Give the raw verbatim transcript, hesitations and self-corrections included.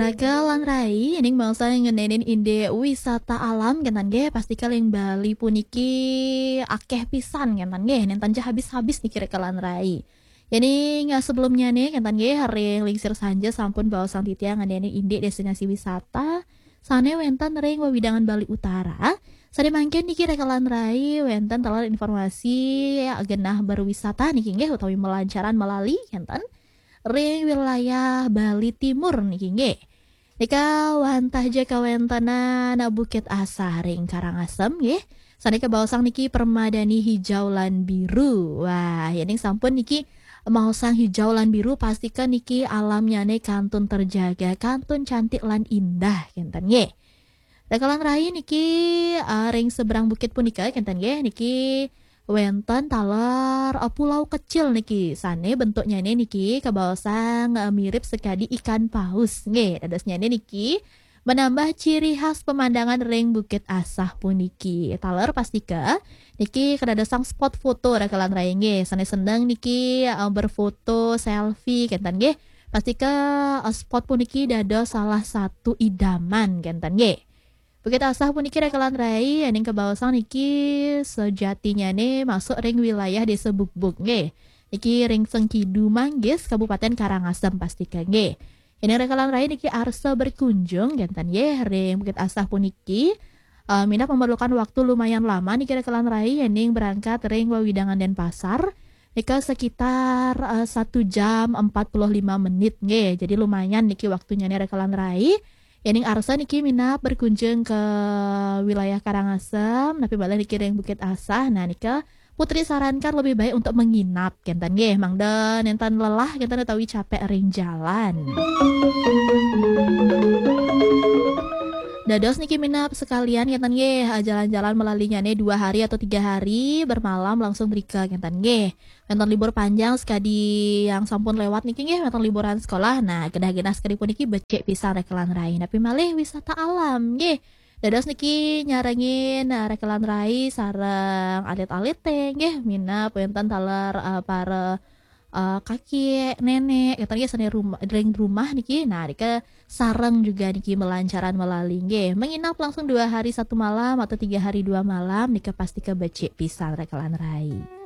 Rekan rai, ning bangsa ngenenin inde wisata alam kentan nggih, pasti kaling Bali puniki akeh pisan kentan nggih, nenten ja habis-habis niki rekan rai. Yening sebelumnya nih kentan nggih, ring lingsir sanja sampun baosang titiang ngenenin inde destinasi wisata sane wenten ring wewidangan Bali Utara. Sane mangkin niki rekan rai wenten taler informasi genah berwisata niki nggih utawi melancaran melali kentan ring wilayah Bali Timur niki nggih. Nika wantah ja kawentenan Bukit Asah ring Karangasem nggih. Sane kabaosang niki permadani hijau lan biru. Wah, yening sampun niki maosang hijau lan biru, pastika niki alamnyane kantun terjaga, kantun cantik lan indah kenten nggih. Rekan rai niki, eh, ring seberang bukit punika kenten nggih, niki wenten taler, eh, pulau kecil niki. Sane bentuknyane niki kabaosang, eh, mirip sekadi ikan paus nggih. Dadosnyane niki menambah ciri khas pemandangan ring Bukit Asah puniki. Taler pastika niki kadadosang spot foto rekan rai nggih. Sane seneng niki, eh, berfoto selfie kenten nggih. Pastika, eh, spot puniki dados salah satu idaman kenten nggih. Bukit Asah puniki rekan rai, yening kabaosang niki sejatinyane masuk ring wilayah Desa Bukbuk nggih. Niki ring Sengkidu Manggis, Kabupaten Karangasem pastika nggih. Yening rekan rai niki arsa berkunjung kenten nggih ring Bukit Asah puniki, eh, minab memerlukan waktu lumayan lama niki rekan rai, yening berangkat ring wewidangan Denpasar nika sekitar, eh, satu jam empat puluh lima menit nggih. Jadi lumayan niki waktunyane rekan rai. Yening arsa niki minab berkunjung ke wilayah Karangasem, napi malih niki ring Bukit Asah. Nah, nika Putri sarankan lebih baik untuk menginap kenten nggih, mangda nenten lelah kenten utawi capek ring jalan. Dados niki minab sekalian kenten nggih, eh, jalan-jalan melalinyane dua hari atau tiga hari bermalam langsung mrika kenten nggih. Wenten libur panjang sekadi yang sampun lewat niki nggih, wenten liburan sekolah. Nah, genah-genah sekadi puniki becik pisan rekan rai. Napi malih wisata alam nggih. Dados niki nyarengin, eh, rekan rai sareng alit-alite nggih, minab wenten taler, eh, para, eh, kakek, nenek, kenten nggih sane rumah, ring rumah niki. Nah, nika sareng juga niki melancaran melali nggih. Menginap langsung dua hari satu malam atau tiga hari dua malam nika pastika becik pisan rekan rai.